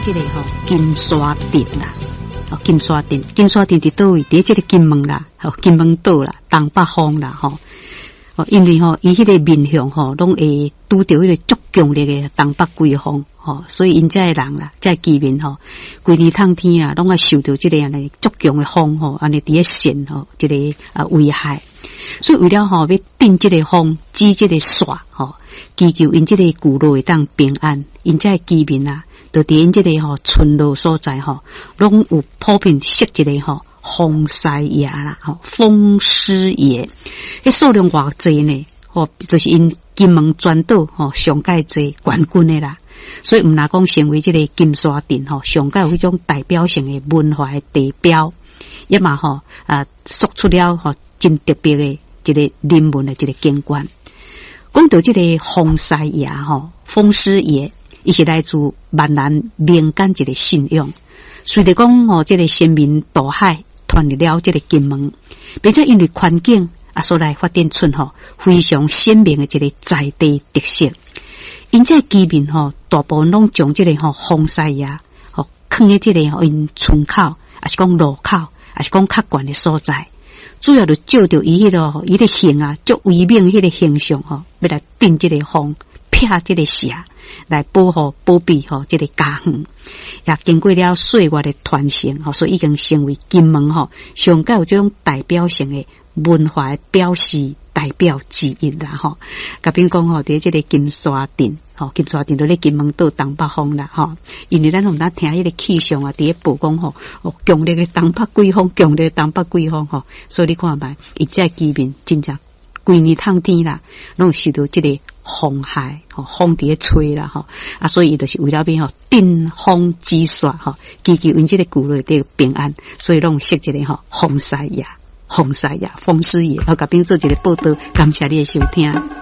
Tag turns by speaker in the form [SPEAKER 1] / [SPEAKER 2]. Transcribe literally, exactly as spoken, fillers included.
[SPEAKER 1] 這个吼金沙鎮啦，哦，金沙鎮，金沙鎮佇佗位？佇這个金門啦，吼，金門島啦，東北方啦，吼。哦，因為吼，伊彼个面向吼，攏會拄著彼个足強烈的東北季風，吼，所以𪜶遮的人啦，遮的居民吼，規年冬天啊，攏愛受著這个按呢足強的風吼，按呢佇咧扇吼，這个啊危害。所以為了吼欲鎮這个風，止這个煞吼，祈求𪜶這个聚落會當平安，𪜶遮的居民啊，就佇𪜶這个吼村落所在吼，攏有普遍設一个吼風師爺啦，吼風師爺，彼數量偌濟呢？吼，就是𪜶金門全島吼上蓋濟冠軍的啦。所以毋若講成為這个金沙鎮吼上蓋有彼種代表性的文化的地標，也嘛吼啊，塑出了吼真特別的一個人文的一個景觀。講著這个風師爺吼，風師爺，伊是來自閩南民間一個信仰。隨著講吼，這個先民渡海傳入了這個金門，並且因為環境啊，所來發展出吼非常鮮明的一個在地特色。𪜶這居民吼，大部分攏將這个吼風師爺吼囥佇這个吼𪜶村口，抑是講路口，抑是講較懸的所在。主要就照著伊彼个伊个形啊，足威猛彼个形象吼，欲來鎮這個風，避這个邪，來保護保庇吼這個家園。也經過了歲月的傳承吼，所以已經成為金門吼上蓋有這種代表性的文化的表示代表之一啦吼。共恁講吼，佇這个金沙鎮吼，金沙鎮就咧金門島東北方啦吼。因為咱攏毋聽彼个氣象啊，佇咧報講吼，強烈的東北季風，強烈的東北季風吼，所以你看覓，𪜶遮居民真正規年冬天啦，攏有受著這个風害，吼，風佇咧吹啦吼，啊，所以伊就是為了欲吼鎮風止煞吼，祈求𪜶這個聚落得平安，所以攏設一個吼風師爺、風師爺、風師爺，我共恁做一個報道，感謝你的收聽。